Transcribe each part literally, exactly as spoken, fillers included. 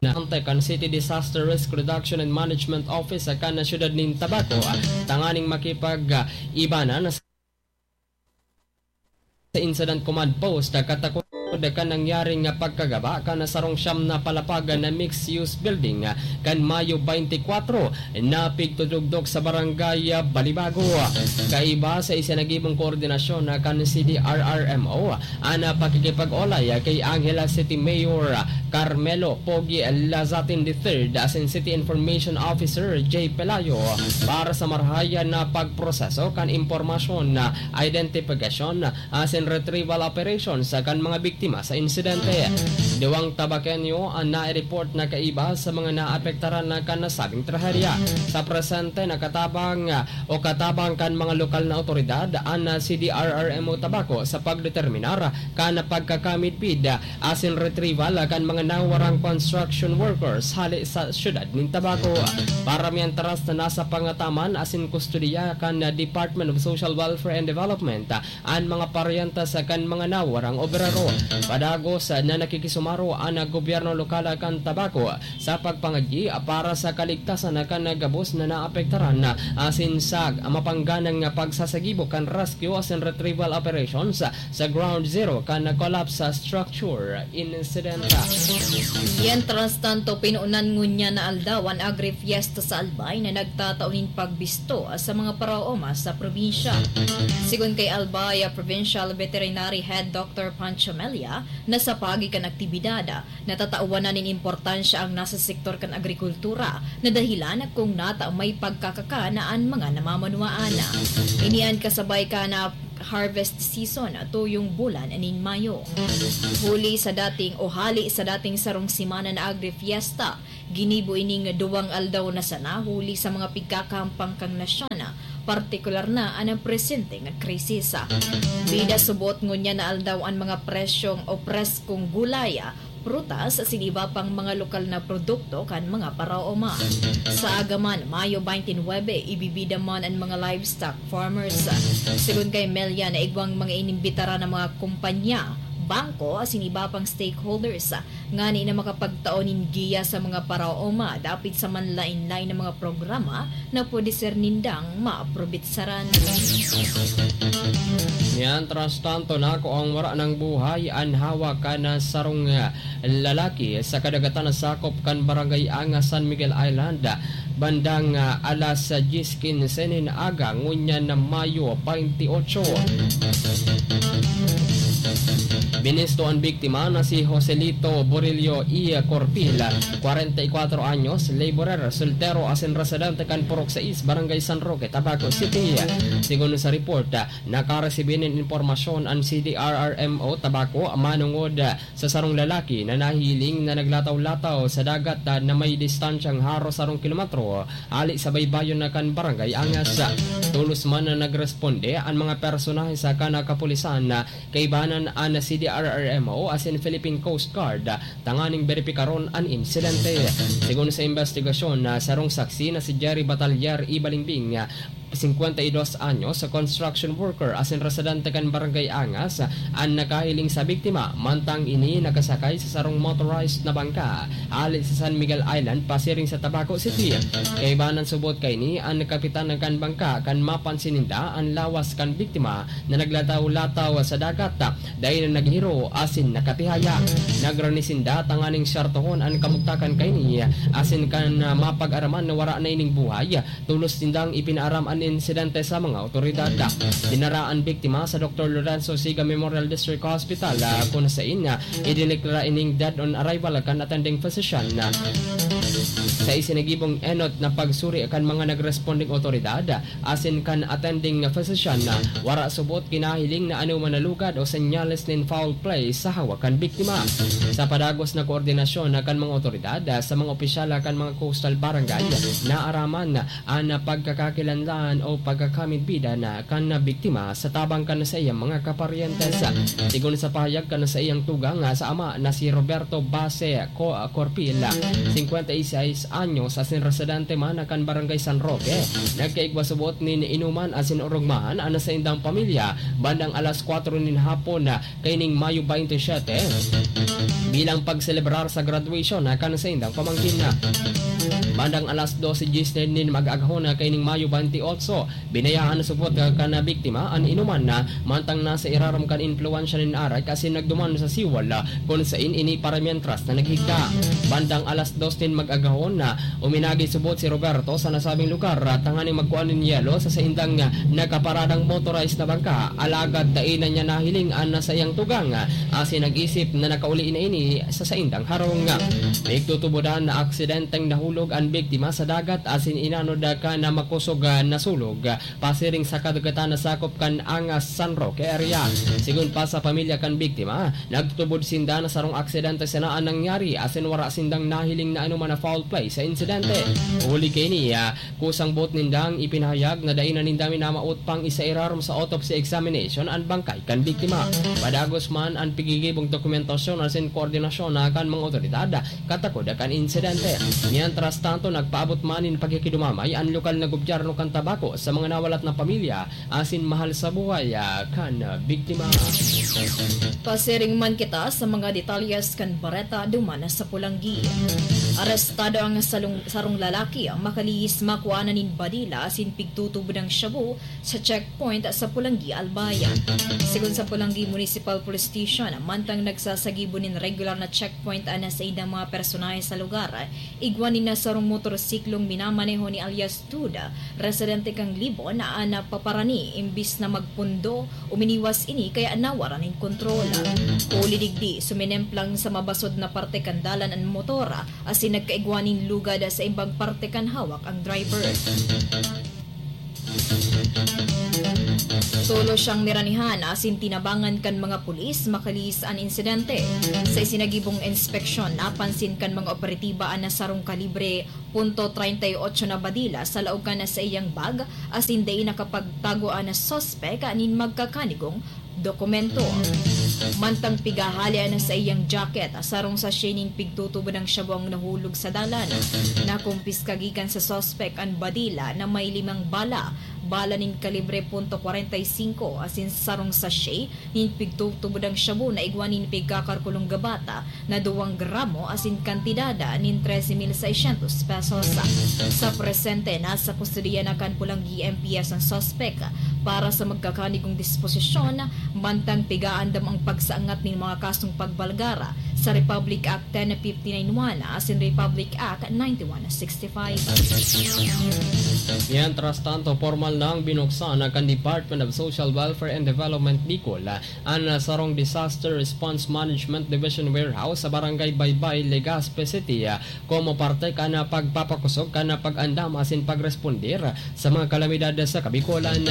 na kan City Disaster Risk Reduction and Management Office kan siyudad nin Tabaco, tanganing makipag-ibanan sa Incident Command Post katakod kan nangyaring pagkagaba kan sarong siyam na palapag na mixed-use building kan Mayo twenty-four na pigtutugdok sa Barangay Balibago. Kaiba sa isinagibong koordinasyon kan C D R R M O, an pakikipag-olay kay Angeles City Mayor Carmelo Pogi Lazatin the third asin City Information Officer Jay Pelayo para sa marahay na pagproseso kan impormasyon, identifikasyon asin retrieval operations kan mga biktima sa insidente. Duwang Tabaqueño an nai-report na kaiba sa mga naapektaran kan nasabing trahedya. Sa presente, nakatabang o katabang kan mga lokal na awtoridad an C D R R M O Tabaco sa pagdeterminar kan pagkakamidbid asin retrieval kan mga nawarang construction workers hale sa siyudad nin Tabaco. Para mientras na nasa pangataman asin kustodiya kan Department of Social Welfare and Development an mga paryentes kan mga nawarang obrero. Padagos na nakikisumaro an gobyerno lokal kan Tabaco sa pagpangagi para sa kaligtasan kan gabos na naapektaran asin sa mapangganang pagsasagibo kan rescue asin retrieval operations sa ground zero kan collapse structure incident. Mientras tanto, pinunan ngunyan na aldaw an Agri-Fiesta sa Albay na nagtatao nin pagbisto sa mga paraoma sa probinsya. Sigon kay Albay Provincial Veterinary Head Doctor Pancho Melia, na sa pagi kan aktibidad, natatawan na nin importansya ang nasa sektor kan agrikultura na dahilan kung nata may pagkakakan an mga namamanwaan. Ini an kasabay kan harvest season tuyong bulan nin Mayo. Huli sa dating o hali sa dating sarong semana na Agri-Fiesta, ginibo ining duwang aldaw na sana huli sa mga pigkakahampang kan nasyon, partikular na an presenteng krisis. Bida subot ngunyan na aldaw an mga presyong o preskong gulay, prutas asin iba pang mga lokal na produkto kan mga paraoma. Sa aga man, Mayo twenty-nine, ibibida man an mga livestock farmers. Sigon kay Melia, naigwang mga inimbitaran na mga kumpanya, bangko asin iba pang stakeholders ngani na makapagtao nin giya sa mga paraoma dapit sa manlaen-laen na mga programa na pwede ser nindang maprobetsaran. Mientras tanto, nakuang wara nang buhay an hawak kan sarong, ah, lalaki sa kadagatan na sakop kan Barangay Angas, San Miguel Island, bandang, ah, alas diyes quince nin aga, ngunyan na Mayo twenty-eight. Binisto an biktima na si Joselito Borillo E. Corpil, kwarenta y kwatro anyos, laborer, soltero asin residente kan Purok sais, Barangay San Roque, Tabaco City. Sigon sa report, nakaresibi nin impormasyon an C D R R M O Tabaco manongod sa sarong lalaki na nahiling na naglataw-lataw sa dagat na may distansyang haros sarong kilometro hali sa baybayon na kan Barangay Angas. Tolos man na nagresponde an mga personahe sa kan kapulisan, kaibanan an C D R R M O asin Philippine Coast Guard, tanganing beripikaron an insidente. Sigon sa imbestigasyon, sarong saksi na si Jerry Batalier Ibalingbing, singkwenta y dos anyos, construction worker asin residente kan Barangay Angas, an nakahiling sa biktima, mantang ini nakasakay sa sarong motorized na bangka hale sa San Miguel Island pasiring sa Tabaco City. Kaibanan subot kaini an kapitan kan bangka kan mapansin ninda an lawas kan biktima na naglataw-lataw sa dagat, dai na naghiro asin nakatihaya. Nagrani sinda tanganing syartohon an kamugtakan kaini asin kan, ah, mapag-araman na wara na ining buhay, tolos nindang ipinaaram an insidente sa mga awtoridad. Dinara an biktima sa Doktor Lorenzo Siga Memorial District Hospital, ah, kun sain, ah, idineklara ining dead on arrival kan attending physician. Sa isinagibong enot na pagsuri kan mga nagresponding awtoridad asin kan attending physician, wara subot kinahiling na anoman na lugad o senyales nin foul play sa hawak kan biktima. Sa padagos na koordinasyon kan mga awtoridad, sa mga opisyal kan mga coastal barangay, naaraman an pagkakakilanlan o pagkakamidbidan kan biktima sa tabang kan saiyang mga kaparyentes. Sigon sa pahayag kan saiyang tugang sa ama na si Roberto Base Co-, Corpil, singkwenta y seis anyos asin residente man na kan Barangay San Roque. Nagkaigwa subot nin inuman asin orogmahan an saindang pamilya bandang alas kwatro nin hapon, ah, kaining Mayo twenty-seven, bilang pagselebrar sa graduation, ah, kan saindang pamangkin. Bandang alas dose dies nin mag-agahon, ah, kaining Mayo twenty-eight, binayaan subot, ah, kan biktima an inuman na mantang nasa irarom kan impluwensya nin arak asin nagduman sa siwal, ah, kun sain ini para mientras na naghigda. Bandang alas dos nin mag-agahon na uminagi subot si Roberto sa nasabing lugar, ah, tanganing magkua nin yelo sa saindang, ah, nakaparadang motorized na bangka. Alagad dai na niya nahiling an saiyang tugang, ah, asin nag-isip na nakauli na ini sa saindang harong. Pigtutubodan na aksidenteng nahulog an biktima sa dagat asin inanod, ah, kan makosog, ah, na sulog. Pasiring sa kadagatan na sakop kan Angas, San Roque area. Sigon pa sa pamilya kan biktima, nagtutubod sinda na sarong aksidente sana an nangyari asin wara sindang nahiling na anoman na foul play sa insidente. Huli kaini, ah, kusang boot nindang ipinahayag na dai na ninda minamawot pang isairarom sa autopsy examination an bangkay kan biktima. Padagos man an pigigibong dokumentasyon asin koordinasyon na kan mga otoridad katakod kan insidente. Mientras tanto, nagpaabot man nin pakikidumamay an lokal na gobyerno kan Tabaco sa mga nawalat na pamilya asin mahal sa buhay, ah, kan biktima. Pasiring man kita sa mga detalyes kan bareta duman sa Polangui. Arestado ang salong-, sarong lalaki makalihis makua na nin badila asin pigtutubod ang shabu sa checkpoint sa Polangui, Albay. Sigon sa Polangui Municipal Police Station, mantang nagsasagibo nin regular na checkpoint an saindang mga personahe sa lugar, igwa nin sarong motorsiklong minamaneho ni alias Tud, residente kan Libon, na napaparani, imbis na magpundo, uminiwas ini kaya nawara nin kontrol. Huli digdi, suminemplang sa mabasod na parte kan dalan an motor, asin nagkaigwa nin lugad sa imbang parte kan hawak ang driver. Tolos siyang niranihan asin tinabangan kan mga pulis makalihis an insidente. Sa isinagibong inspeksyon, napansin kan mga operatiba an sarong kalibre punto treinta y ocho na badila sa laog kan saiyang bag asin dai nakapagtago an suspek nin magkakanigong dokumento. Mantang pigahali an saiyang jacket, sarong sachet nin pigtutubod ang shabu ang nahulog sa dalan. Nakumpiska gikan sa suspek an badila na may limang bala, bala nin kalibre punto kwarenta y singko asin sarong sachet nin pigtutubod ang shabu na igwa nin pigkakalkulong gabata na duwang gramo asin kantidad nin trese mil seiscientos pesos. Sa presente, nasa kustodiya na kan Polangui M P S an suspek para sa magkakanigong disposisyon, mantang pigaandam ang pagsaangat nin mga kasong pagbalgar sa Republic Act ten fifty-nine one asin Republic Act ninety-one sixty-five. Mientras tanto, pormal nang binuksan kan Department of Social Welfare and Development Bicol an, ah, sarong Disaster Response Management Division Warehouse sa Barangay Baybay, Legazpi City, ah, komo parte kan, ah, pagpapakosog kan, ah, pag-andam asin pagrespondir sa mga kalamidad sa Kabikolan.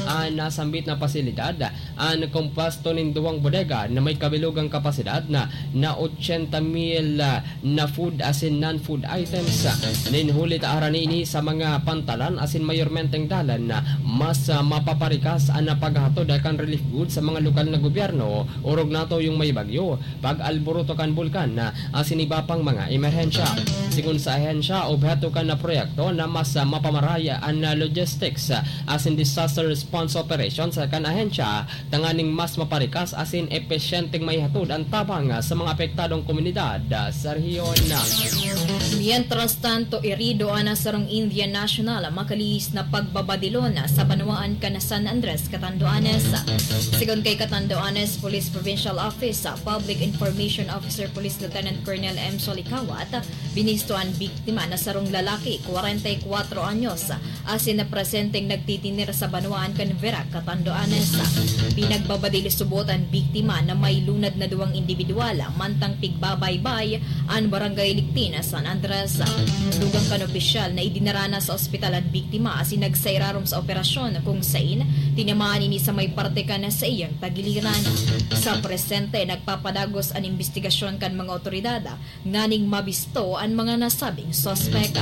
An nasambit na pasilidad, an kompuesto nin duwang bodega na may kabilogang kapasidad na, na ochenta mil, ah, na food asin non-food items. Nin huli ta arani ini sa mga pantalan asin mayormenteng dalan na mas, ah, mapaparikas an paghatod kan relief goods sa mga lokal na gobyerno, orog natuyong may bagyo, pag-alboroto kan bulkan, ah, asin iba pang mga emerhensya. Sigon sa ahensya, obheto kan proyekto na mas, ah, mapamaray an, ah, logistics, ah, asin disaster response operations kan ahensya tanganing mas maparikas asin epesyenteng maihatod an tabang sa mga apektadong komunidad sa rehiyon. Mientras tanto, irido an sarong Indian national makalihis na pagbabadilon sa banwaan kan San Andres, Catanduanes. Sigon kay Catanduanes Police Provincial Office Public Information Officer Police Lieutenant Colonel M. Solikawat, binisto an biktima na sarong lalaki, kwarenta y kwatro anyos, asin na presenteng nagtitinir sa banwaan kan Virac, Catanduanes. Pinagbabadil subot an biktima na may lunad na duwang indibidwal, mantang pigbabaybay an Barangay Ligtin, San Andres. Dugang kan opisyal na idinara na sa ospital an biktima asin nagsairarom sa operasyon kung sain tinamaan ini sa may parte kan saiyang tagiliran. Sa presente, nagpapadagos an imbestigasyon kan mga otoridad nganing mabisto an mga nasabing suspek.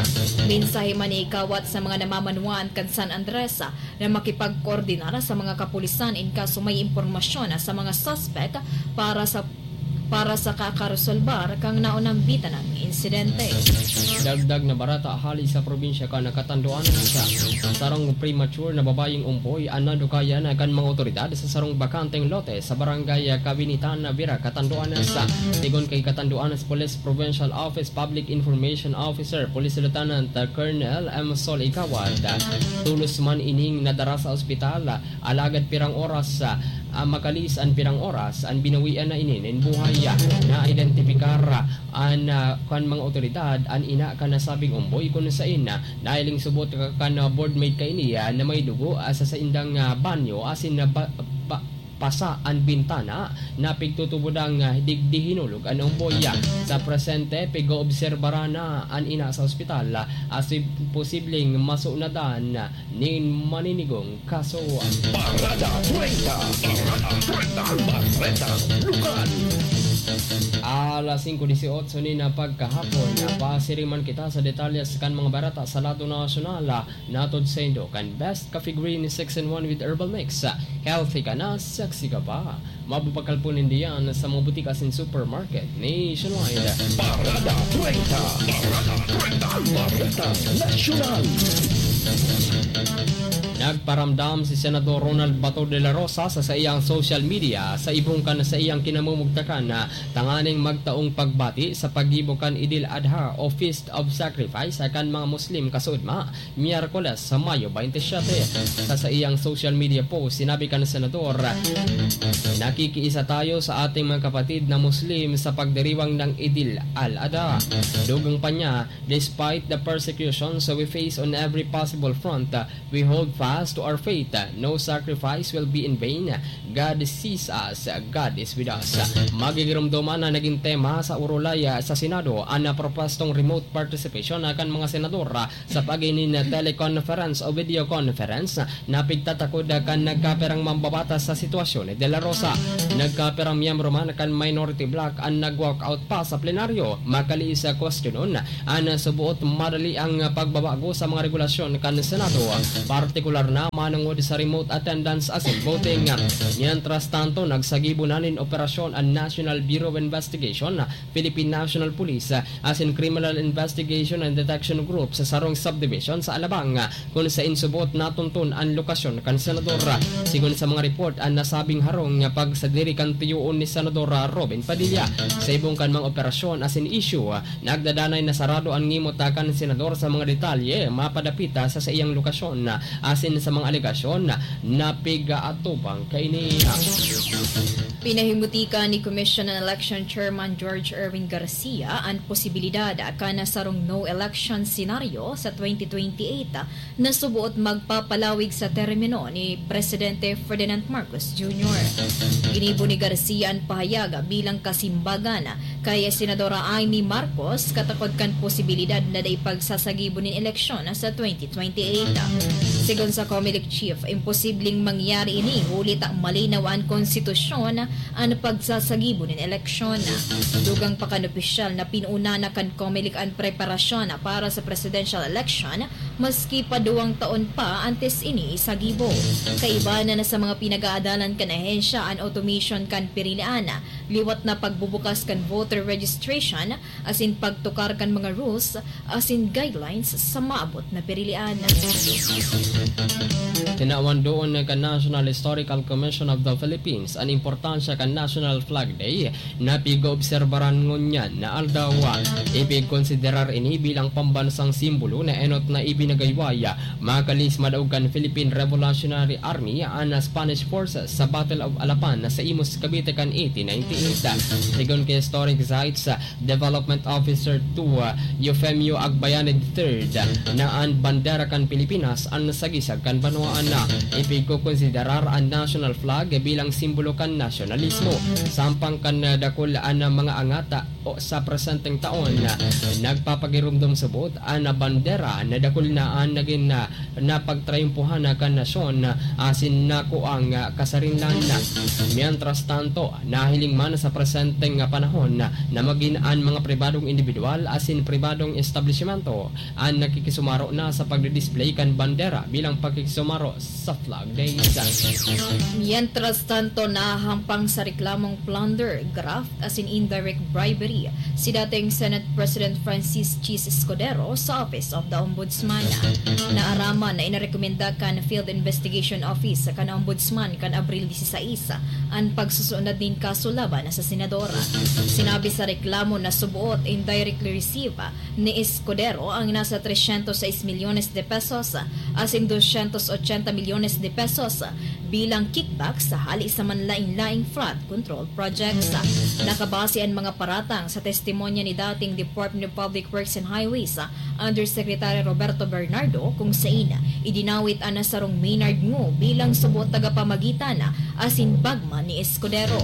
Mensahe man ni Ikawat sa mga namamanwaan kan San Andres na makipagkoordinar sa mga kapulisan in kaso may impormasyon sa mga suspek para sa para sa kakaresolbar kan naunambitan na insidente. Dagdag na bareta hali sa probinsya kan Catanduanes. Sarong premature na babayeng umboy an nadukayan kan mga otoridad sa sarong bakanteng lote sa barangay Kabinitan, Vira, Catanduanes. Sigon kay Catanduanes Police Provincial Office Public Information Officer, Police Lieutenant Colonel M. Sol Igawad, tolos man ining nadara sa ospital. Alagad pirang oras, ah, ah, makalis an pirang oras, an binawian na ini nin buhay. Na-identipikar, ah, an, ah, kan mga otoridad an ina kan nasabing umboy, kun saen, ah, nahiling subot ka-, kan, ah, boardmate kaini, ah, na may dugo, ah, sa saindang, ah, banyo asin na ba-, ba-, pasa an bintana na pigtutubodang, ah, digdi hinulog an umboy. Sa presente, pig-oobserbaran na an ina sa ospital, ah, asin posibleng masunadan nin maninigong kaso. Parada treinta. Parada treinta. Bareta Lokal. Alas singko dieciocho nin pagkahapon, napasiriman kita sa detalye kan mga bareta sa lado nasyonal. Natod saindo kan Best Coffee Green six in one with Herbal Mix. Healthy ka na, sexy ka pa. Mabubakal po nindiyan sa mga butika asin supermarket nationwide. Parada treinta. Parada treinta. Bareta Nasyonal. Nagparamdam si Senador Ronald Bato de la Rosa sa saiyang social media sa ibong kan saiyang kinamumugtakan na tanganing magtaong pagbati sa paggibo kan Idil Adha o Feast of Sacrifice kan mga Muslim kasuodma, Miyerkules, sa Mayo twenty-seven. Sa saiyang social media post, sinabi kan Senador, "Nakikiisa tayo sa ating mga kapatid na Muslim sa pagdiriwang ng Idil al-Adha." Dugang pa niya, "Despite the persecutions we face on every possible front, we hold fast to our faith. No sacrifice will be in vain. God sees us. God is with us." Magigiromdoman na naging tema sa urulay sa Senado an propwestong remote participation kan mga senador sa pag-ining teleconference o video conference na pigtatakod kan nagkapirang mambabatas sa sitwasyon ni De La Rosa. Nagkapirang miyembro man kan minority bloc an nag-walkout pa sa plenaryo, makali sa kwestiyonon an suboot madali ang pagbabago sa mga regulasyon kan Senado, partikular na manongod sa remote attendance asin voting. Mientras tanto, nagsagibo na nin operasyon an National Bureau of Investigation, Philippine National Police, asin Criminal Investigation and Detection Group sa sarong subdivision sa Alabang, kun saen subot natunton an lokasyon kan senador. Sigon sa mga report, an nasabing harong pagsadiri kan tiyoon ni Senador Robin Padilla. Sa ibong kan mga operasyon asin issue, nagdadanay na sarado an ngimot kan senador sa mga detalye mapadapit sa saiyang lokasyon asin sa mga alegasyon na pig-aatubang kaini. Pinahimutika ni Commission on Election Chairman George Erwin Garcia an posibilidad kan sarong no-election scenario sa twenty twenty-eight na suboot magpapalawig sa termino ni Presidente Ferdinand Marcos Junior. Ginibo ni Garcia an pahayag bilang kasimbagan kay Senadora Imee Marcos katakod kan posibilidad na dai pagsasagibo nin eleksyon sa twenty twenty-eight. Sigon sa Comelec Chief, imposibleng mangyari ini huli ta malinaw an konstitusyon an pagsasagibo nin eleksyon. Dugang pa kan opisyal na pinuuna na kan Comelec an preparasyon para sa presidential election, maski pa duwang taon pa antes ini isagibo. Kaiba na, na sa mga pinag-aadalan kan ahensya an automation kan pirilian, liwat na pagbubukas kan voter registration, asin pagtukar kan mga rules asin guidelines sa maabot na pirilian. Tinawan doon kan National Historical Commission of the Philippines an importansya kan National Flag Day na pig-oobserbaran ngunyan na aldaw. Ipigkonsiderar ini bilang pambansang simbolo na enot na ibinagayway, makalis madaog kan Philippine Revolutionary Army an Spanish Forces sa Battle of Alapan sa Imus, Cavite kan eighteen ninety-eight. Sigon kay Historic Sites Development Officer two, Eufemio Agbayani the third, na an bandera kan Pilipinas an sagisag kan banwaan. Ipigkokonsiderar an national flag bilang simbolo kan nasyonalismo. Sampang kan dakul an mga angat o sa presenteng taon, nagpapagiromdom subot an bandera na dakul na an nagin na pagtrayumpohan kan nasyon asin nakuang kasarinlan. Mientras tanto, nahiling man sa presenteng panahon na magin an mga pribadong indibidwal asin pribadong establisimento an nakikisumaro na sa pagdi-display kan bandera bilang pakikisumaro sa Flag Days. Mientras tanto, nahahampang sa reklamong plunder, graft asin indirect bribery si dating Senate President Francis Chiz Escudero sa Office of the Ombudsman. Naaraman na inarekomenda kan Field Investigation Office kan Ombudsman kan Abril disisais an pagsusunod nin kaso laban sa senador. Sinabi sa reklamo na suboot indirectly receive ni Escudero ang nasa trescientos seis milyones de pesos asin doscientos ochenta milyones de pesos bilang kickback sa hali sa manlain-laing flood control projects. Nakabase an mga paratang sa testimonya ni dating Department of Public Works and Highways Undersecretary Roberto Bernardo, kung sain idinawit an sarong Maynard Ngo bilang suboot tagapamagitan asin bagman ni Escudero.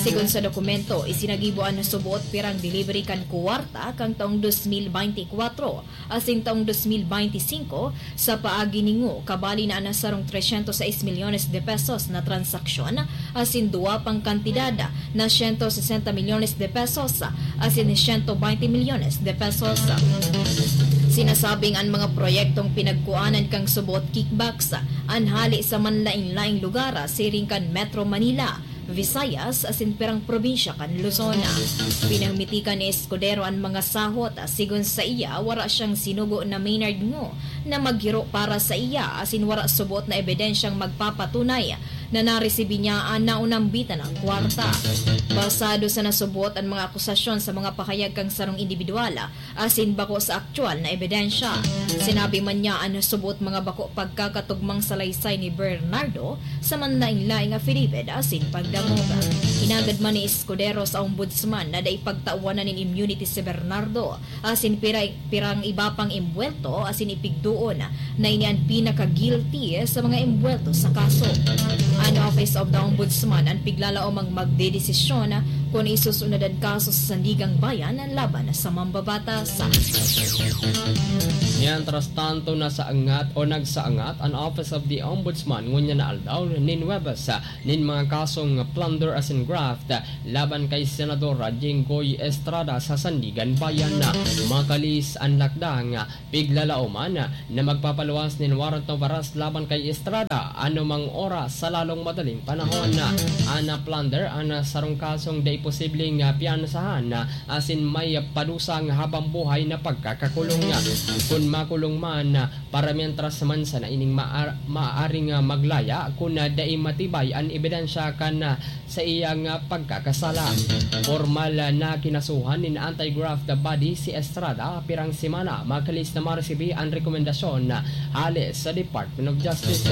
Sigon sa dokumento, isinagibo an suboot pirang delivery kan kuwarta kan taong dos mil beintikwatro asin taong dos mil beintisinko sa paagi ni Ngo, kabali na an sarong trescientos seis milyones de pesos na transaksyon asin duwa pang kantidad na siyento sesenta milyones de pesos asin siyento baynte milyones de pesos. Sinasabing an mga proyektong pinagkuanan kan suboot kickbacks an hali sa manlain-laing lugar siring kan Metro Manila, Visayas asin pirang probinsya kan Luzon. Pinamitikan ni Escudero an mga sahot, sigon sa iya, wara siyang sinugo na Maynard Ngo na maghiro para sa iya asin wara suboot na ebidensyang magpapatunay na naresibi niya an naunambitan na kwarta. Basado sa nasuboot an mga akusasyon sa mga pahayag kan sarong indibidwal asin bako sa aktuwal na ebidensya. Sinabi man niya an nasuboot mga bako pagkakatugmang salaysay ni Bernardo sa manlain-laing affidavit asin pagdangog. Inagad man ni Escudero sa Ombudsman na dai pagtawan na nin immunity si Bernardo asin pira-, pirang iba pang imbuwelto asin ipigdoon na ini an pinaka-guilty sa mga imbuwelto sa kaso. An Office of the Ombudsman an piglalaomang magdedesisyon kun isusunod an kaso sa Sandigang Bayan laban sa mambabatas. Mientras tanto, nasaangat o nagsaangat an Office of the Ombudsman ngunyan na aldaw nin Huwebes nin mga kasong plunder asin graft laban kay Senador Jinggoy Estrada sa Sandigan Bayan. Makalis an lakdang, piglalaoman na magpapaluwas nin warrant of arrest laban kay Estrada anumang oras sa lalong madaling panahon. An plunder an sarong kasong dai posibleng piyansahan asin may padusang habang buhay na pagkakakulong. Kun makulong man, para mientras man sana ining maar-, maaaring maglaya kun dai matibay an ebidensya kan sa iyang pagkakasala. Pormal na kinasuhan nin anti-graft body si Estrada pirang semana makalis na maresibi an rekomendasyon hale sa Department of Justice.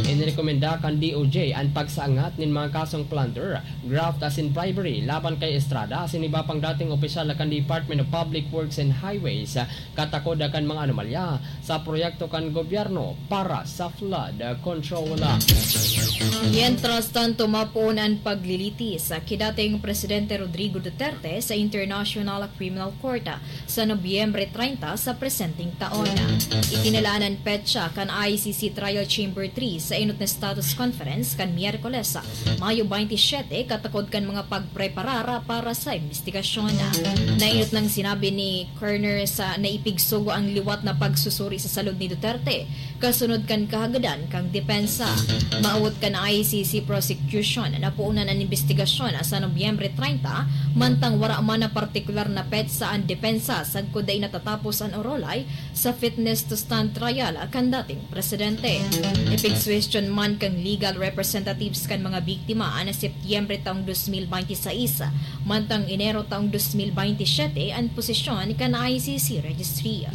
Inirekomenda kan D O J an pagsaangat nin mga kasong plunder, graft asin bribery laban kay Estrada asin iba pang dating opisyal kan Department of Public Works and Highways, katakod kan mga anomalya sa proyekto kan gobyerno para sa flood control. Mientras tanto, mapoon an paglilitis ki dating Presidente Rodrigo Duterte sa International Criminal Court sa Nobyembre treinta sa presenteng taon. Itinalaan an petsa kan I C C Trial Chamber three sa enot na status conference kan Miyerkules, Mayo baynte siyete, katakod kan mga pagpreparar para sa imbestigasyon. Nainot nang sinabi ni Kerner sa naipigsugo ang liwat na pagsusuri sa salud ni Duterte, kasunod kan kahagadan kan depensa. Maawot kan I C C prosecution na puunan an imbestigasyon sa Nobyembre treinta, mantang wara man na partikular na petsa an depensa sagkod dai natatapos an orolay sa fitness to stand trial kan dating presidente. Ipigsuhestyon man kan legal representatives kan mga biktima an Setyembre taong dos mil baynte sais, mantang Enero taong dos mil baynte siyete an posisyon kan I C C registry.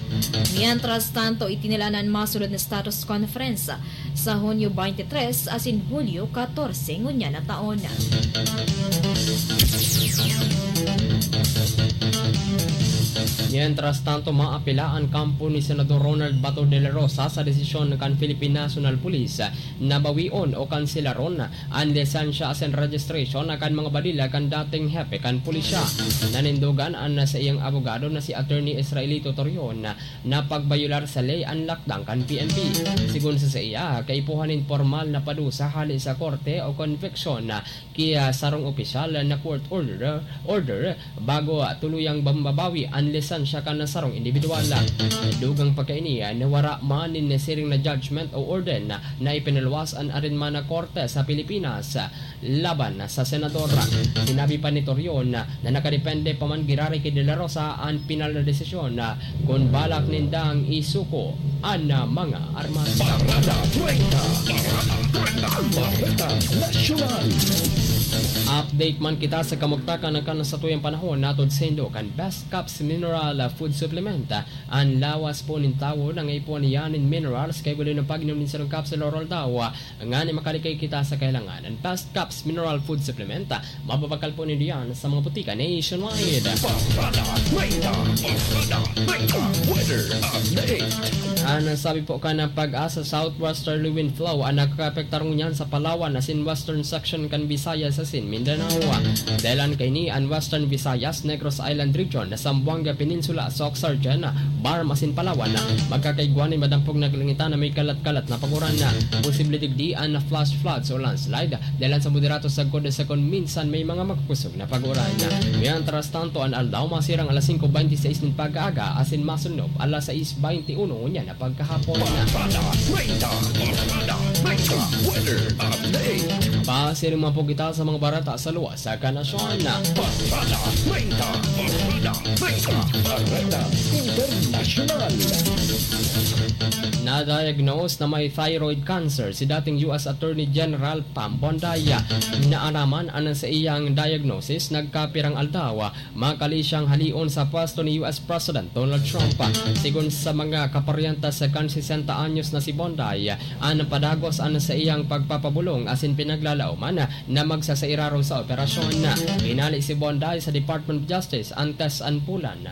Mientras tanto, itinalaan an masunod na status conference sa Hunyo baynte tres asin Hulyo katorse ngunyan na taon. Mientras tanto, maapela an kampo ni Senador Ronald Bato de la Rosa sa desisyon kan Philippine National Police na bawion o kanselaron an lisensya asin registration kan mga badila kan dating hepe kan pulisya. Nanindogan an saiyang abogado na si Attorney Israelito Torion na pagbayular sa ley an lakdang kan P N P. Sigon sa saiya, kaipuhan nin pormal na padusa hale sa korte o konviksyon ki sarong opisyal na court order, order bago tuluyang mabawi an lisensya kan sarong indibidwal. Dugang pa kaini na wara man nin nasiring na judgment o order na ipinaluwas an arin man na korte sa Pilipinas laban sa senador. Sinabi pa ni Torion na nakadepende pa man giraray ki De La Rosa an pinal na desisyon kun balak nindang isuko an mga armas. Parada treinta, Parada treinta, Parada Nasyonal. Update man kita sa kamugtakan kan satuyang panahon, hatod saindo kan Best Caps Mineral Food Supplement. An lawas po nin tawo nangaipuhan niya nin minerals, kaipuhan nin pag-inom nin sarong capsule or aldaw, ngani makalikay kita sa kahilangan. An Best Caps Mineral Food Supplement, mababakal po nindo yan sa mga butika nationwide. Parada treinta, Parada treinta, weather update. An sabi po kan PAGASA, southwesterly wind flow an nakakaapektar ngunyan sa Palawan asin western section kan Visayas asin Mindanao. Dahelan kaini, an Western Visayas, Negros Island Region, Zamboanga Peninsula, Soc Sargen, BARMM asin Palawan, magkakaigwa nin madampog na kalangitan na may kalat-kalat na paguran. Posible digdi an flash floods o landslide, dahelan sa moderato sagkod sa kun minsan may mga makukusog na paguran. Mientras tanto, an aldaw masirang alas singko bente seis nin pag-aaga asin masunob alas sais bente uno ngunyan na pagkahapon. Parada treinta, Parada treinta, weather update. Pasiring man po kita sa mga bareta sa luwas kan nasyon. Parada treinta, Parada treinta, Parada Internasyonal. Na-diagnose na may thyroid cancer si dating U S Attorney General Pam Bonday. Naaraman an saiyang diagnosis nagkapirang aldaw, makali siyang haleon sa pwesto ni U S President Donald Trump. Sigon sa mga kaparyentes kan sesenta anyos na si Bonday, an padagos an saiyang pagpapabolong asin pinaglalaoman na magsasairarom sa operasyon. Hinale si Bonday sa Department of Justice antes an bulan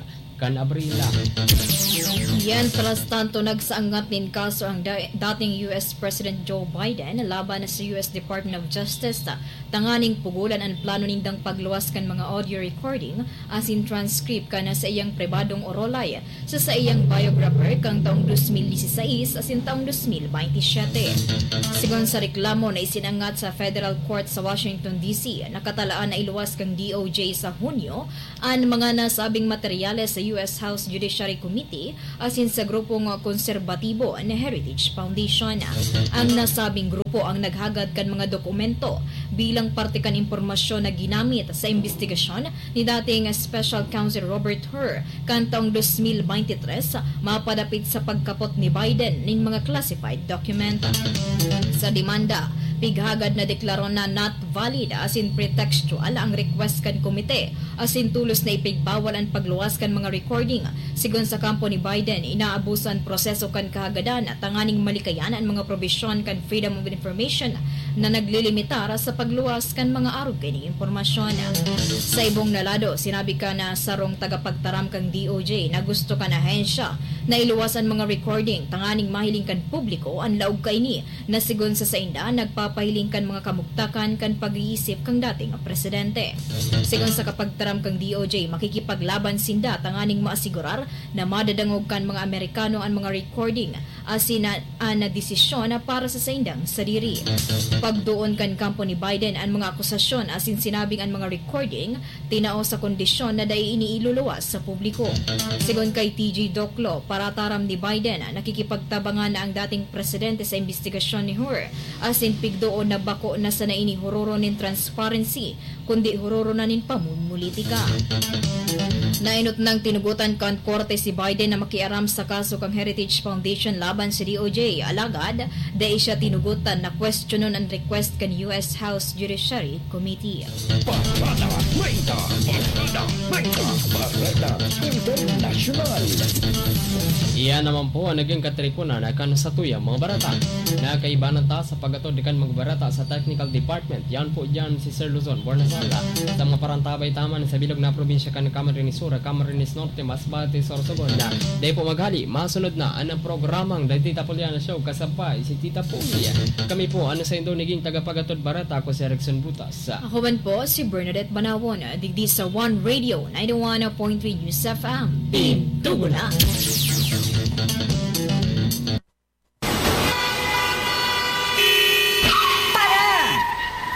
kan Abril. Mientras tanto, nagsaangat nin kaso ang da-, dating U S President Joe Biden laban sa U S Department of Justice, tanganing pugolan an plano nindang pagluwas kan mga audio recording asin transcript kan saiyang pribadong orolay sa saiyang biographer kan taong dos mil dieciséis asin taong dos mil bente siyete. Sigon sa reklamo na isinangat sa federal court sa Washington, D C, nakatalaan na iluwas kan D O J sa Hunyo an mga nasabing materyales sa U S House Judiciary Committee asin sa grupong konserbatibo na Heritage Foundation. Ang nasabing grupo ang naghagad kan mga dokumento bilang parte kan impormasyon na ginamit sa imbestigasyon ni dating Special Counsel Robert Hur kan taong dos mil bente tres, mapadapit sa pagkapot ni Biden nin mga classified document. Sa demanda, pighagad na deklaro na not valid asin pretextual ang request kan komite, asin tolos na ipigbawal an pagluwas kan mga recording. Sigon sa kampo ni Biden, inaabuso an proseso kan kahagadan tanganing malikayan an mga probisyon kan Freedom of Information na naglilimitar sa pagluwas kan mga arog kaining impormasyon. Sa ibong na lado, sinabi kan sarong tagapagtaram kan D O J na gusto kan ahensya na iluwas an mga recording tanganing mahiling kan publiko an laog kaini na sigon sa sainda, nagpapahiling kan mga kamugtakan kan pag-iisip kan dating presidente. Sigon sa kapagtaram kan D O J, makikipaglaban sinda tanganing maasigurar na madadangog kan mga Amerikano an mga recording asin an desisyon para sa saindang sadiri. Pagdoon kan kampo ni Biden an mga akusasyon asin sinabing an mga recording tinao sa kondisyon na dai ini iluluwas sa publiko. Sigon kay T J Doclo, parataram ni Biden, nakikipagtabangan na ang dating presidente sa imbestigasyon ni Hur, asin pigdoon na bako na sana ini hororon nin transparency, kundi hororon na nin pamumulitika. Nainot nang tinugotan kan korte si Biden na makiaram sa kaso kan Heritage Foundation laban sa D O J, alagad dai siya tinugotan na kwestiyonon an request kan U S House Judiciary Committee. Parada treinta, Parada treinta, Parada Internasyonal. Iyan naman po ang naging katiriponan na kan satuyang mga barata. Nakaibanan ta sa pag-atod kan mga barata sa technical department. Yan po dyan si Sir Luzon Bornasala. Sa mga parantabay taman sa bilog na probinsya kan Camarines Sur, Camarines Norte, Masbate, Sorsogon. Dahil po maghali, masunod na ang programang The Tita Puliana Show, kasabay si Tita Puli. Kami po, ano sa indo naging tagapagatod barata, ako si Erickson Butas. Ako man po, si Bernadette Banawon, digdi sa One Radio, ninety-one point three News F M. Pintugo na!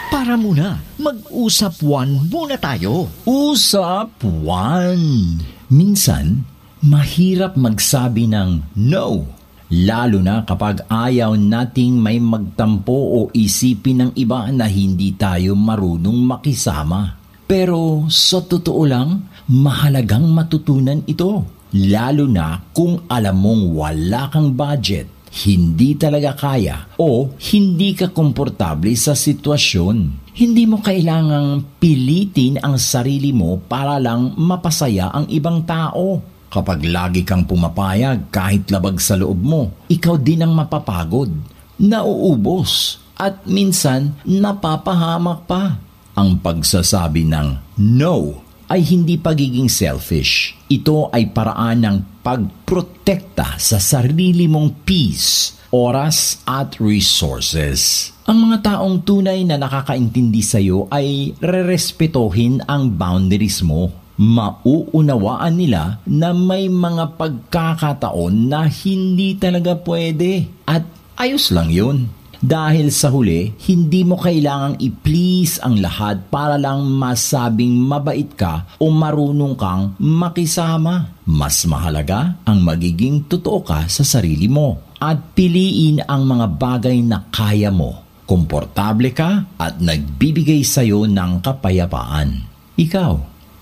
Para muna, mag-usap one muna tayo. Usap one. Minsan, mahirap magsabi ng no, lalo na kapag ayaw nating may magtampo o isipin ng iba na hindi tayo marunong makisama. Pero sa totoo lang, mahalagang matutunan ito, lalo na kung alam mong wala kang budget, hindi talaga kaya, o hindi ka komportable sa sitwasyon. Hindi mo kailangang pilitin ang sarili mo para lang mapasaya ang ibang tao. Kapag lagi kang pumapayag kahit labag sa loob mo, ikaw din ang mapapagod, nauubos, at minsan napapahamak pa. Ang pagsasabi ng no ay hindi pagiging selfish. Ito ay paraan ng pagprotekta sa sarili mong peace, oras, at resources. Ang mga taong tunay na nakakaintindi sa'yo ay rerespetohin ang boundaries mo. Mauunawaan nila na may mga pagkakataon na hindi talaga pwede. At ayos lang yun. Dahil sa huli, hindi mo kailangang i-please ang lahat para lang masabing mabait ka o marunong kang makisama. Mas mahalaga ang magiging totoo ka sa sarili mo at piliin ang mga bagay na kaya mo, komportable ka at nagbibigay sa'yo ng kapayapaan. Ikaw,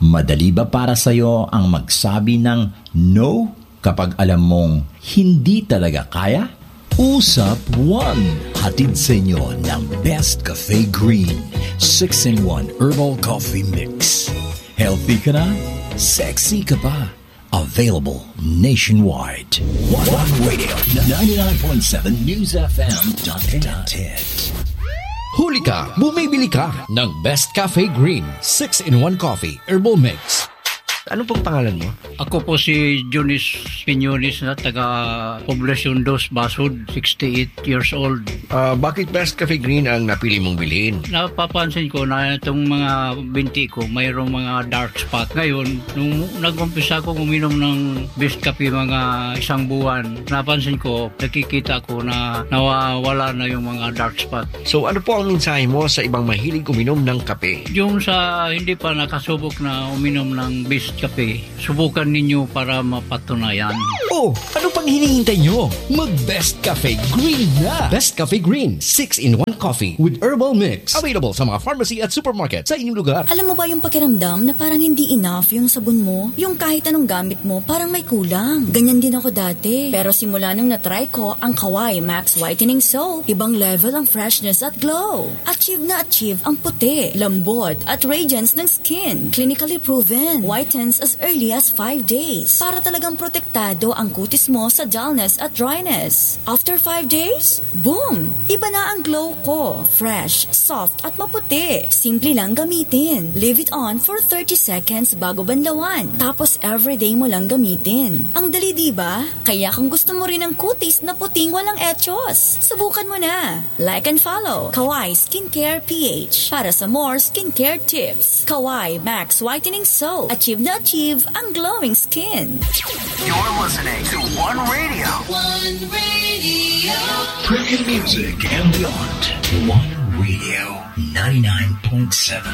madali ba para sa'yo ang magsabi ng no kapag alam mong hindi talaga kaya? Usap One, hatid sa inyo ng Best Cafe Green, six-in-one Herbal Coffee Mix. Healthy ka na, sexy ka pa. Available nationwide. One Radio, ninety-nine point seven News F M dot net. Huli ka, bumibili ka ng Best Cafe Green, six-in-one Coffee, Herbal Mix. Ano pong pangalan mo? Ako po si Jonis Piñones na taga Poblacion Dos, Basud, sixty-eight years old. Ah, bakit Best Cafe Green ang napili mong bilhin? Napapansin ko na itong mga binti ko, mayroong mga dark spot. Ngayon, nung nag-umpisa akong uminom ng Best Cafe mga isang buwan, napansin ko, nakikita ko na nawawala na yung mga dark spot. So, ano po ang mensahe mo sa ibang mahilig uminom ng kape? Yung sa hindi pa nakasubok na uminom ng Best Cafe, subukan ninyo para mapatunayan. Oh, ano pang hinihintay nyo? Mag Best Cafe Green na! Best Cafe Green, six-in-one Coffee with Herbal Mix. Available sa mga pharmacy at supermarket sa inyong lugar. Alam mo ba yung pakiramdam na parang hindi enough yung sabon mo? Yung kahit anong gamit mo, parang may kulang. Ganyan din ako dati. Pero simula nung na-try ko ang Kawai Max Whitening Soap, ibang level ang freshness at glow. Achieve na achieve ang puti, lambot, at radiance ng skin. Clinically proven. Whitens as early as five days. Para talagang protektado ang kutis mo sa dullness at dryness. After five days, boom! Iba na ang glow ko. Fresh, soft, at maputi. Simple lang gamitin. Leave it on for thirty seconds bago banlawan. Tapos everyday mo lang gamitin. Ang dali, di ba? Kaya kung gusto mo rin ng kutis na puting walang echos, subukan mo na. Like and follow Kawai Skincare P H para sa more skincare tips. Kawai Max Whitening Soap. Achieve na achieve ang glowing skin. You're listening to One Radio. One Radio. Premium music and beyond. One Radio, ninety-nine point seven.